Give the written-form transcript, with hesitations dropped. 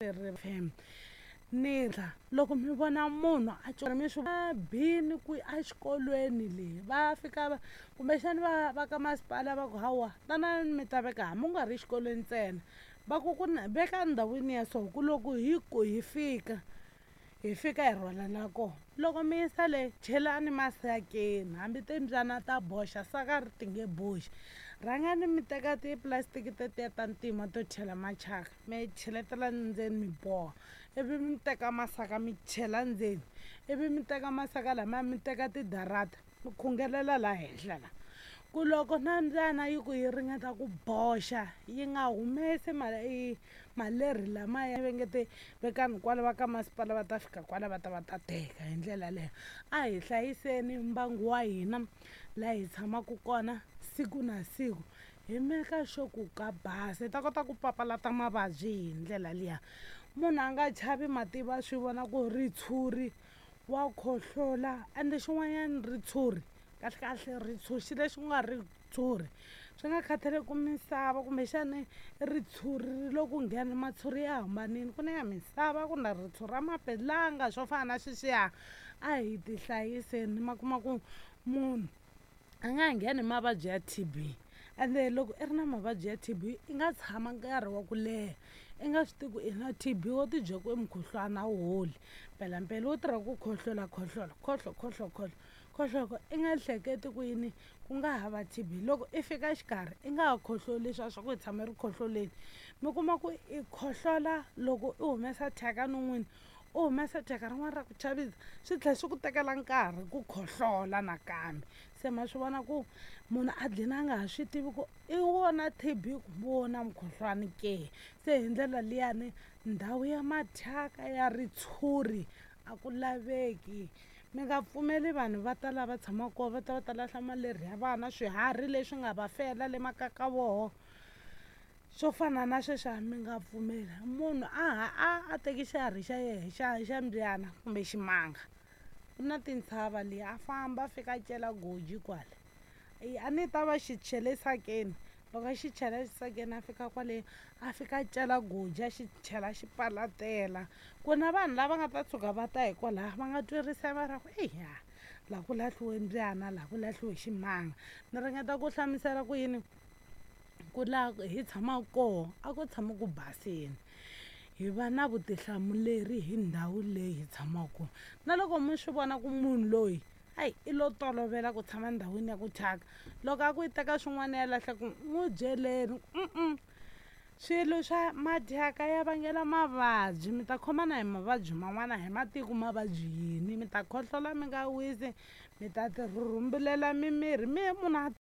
Ri ni loko mi vona munhu a mi swi bini ku exikolweni leyi va fika va kumbexani va va ka masipala va ku hawa tanani mi ta veka hambi u nga ri xikolweni ntsena, va ku ku na veka ndhawini ya so ku loko hi ku hi fika hi fika hi rhwalela kona. Loko mi yisa le chelani masakeni hambi timbyana ta boxa saka ri ti nge boxi. Rhangani mi teka tipulastiki tetiya ta ntima to chela machaka mi cheletela ndzeni mi boha, ivi mi teka masaka mi chela ndzeni, ivi mi teka masaka lamaya mi teka tidarata mi khungelela laha henhla la. Ku loko na mbyana yi ku yi ringeta ku boxa yi nga humesi malerhi lamaya va nge te vekani kwala va ka masipala va ta fika kwala va ta va ta teka hi ndlela yaleyo. A hi hlayiseni mbangu wa hina laha hi tshamaka kona siku na siku hi meka sure ku ka basa hi ta kota ku papalata mavabyi hi ndlela liya. Munhu a nga chavi mativa swi vona ku ritshuri wa khohlola ende xin'wanyana ritshuri kahlekahle ritshuri xilo lexi ku nga ritshuri swi nga khataleki ku misava kumbexani ritshuri ri lo ku nghena matshuri ya hambanile ku na ya misava ku na ritshuri ra mapelanga swo fana na sweswiya. A hi ti hlayiseni ma kuma ku munhu a nga ha ngheni hi mavabyi ya T_B ende loko i ri na mavabyi ya T_B i nga tshama nkarhi wa ku leha i nga swi tivi ku i na T_B wo ti byela ku i mukhuhlwana a wu holi mpelampela wo tirha ku khohlola khohlola khohlo khohlo khohlo khohlo i nga hleketi ku yini ku nga hava T_B loko i fika xikarhi i nga ha khohloli leswiya swa ku i tshama ri khohloleni mi kuma ku i khohlola loko i humesa thyaka non'wini u humesa thyaka rin'wana ra ku chavisa swi tlhela swi ku tekela nkarhi ku khohlola nakambe. Se ma swi vona ku munhu a dlina a nga ha swi tivi ku i wona T_B kumbe wona mukhuhlwani ke, se hi ndlela liyani ndhawu ya mathyaka ya ritshuri a ku laveki. Mi nga pfumeli vanhu va ta lava tshamaka kona va ta va ta lahla malerhi ya vana swiharhi leswi nga va fela le makaya ka voho swo fana na sweswiya mi nga pfumeli. Munhu a ha a a teki xiharhi xa yehe xa xa mbyana kumbe ximanga ku na tintshava le a famba a fika a cela goji kwale a ni ta va xi chele sakeni loko a xi chela xisakeni a fika kwale a fika a cela goji a xi chela xi palatela ku na vanhu lava nga ta tshuka va ta hi kwalaya va nga twi risema ra ku eya laha ku lahliwe mbyana laha ku lahliwe ximanga. Ni ringeta ku hlamusela ku yini ku laha hi tshamaka koho a ku tshami ku basini hi va na vutihlamuleri hi ndhawu leyi hi tshamaka kona na loko mi swi vona ku munhu loyi hayi i lo tolovela ku tshama ndhawini ya ku thyaka loko a ku yi teka swin'wana ya lahla ku n'wi byeleni swilo swa mathyaka ya vangela mavabyi mi ta khomana hi mavabyi man'wana hi matiko mavabyi yini mi ta khohlola mi nga wisi mi ta ti rhumbulela mimiri mi munhu a.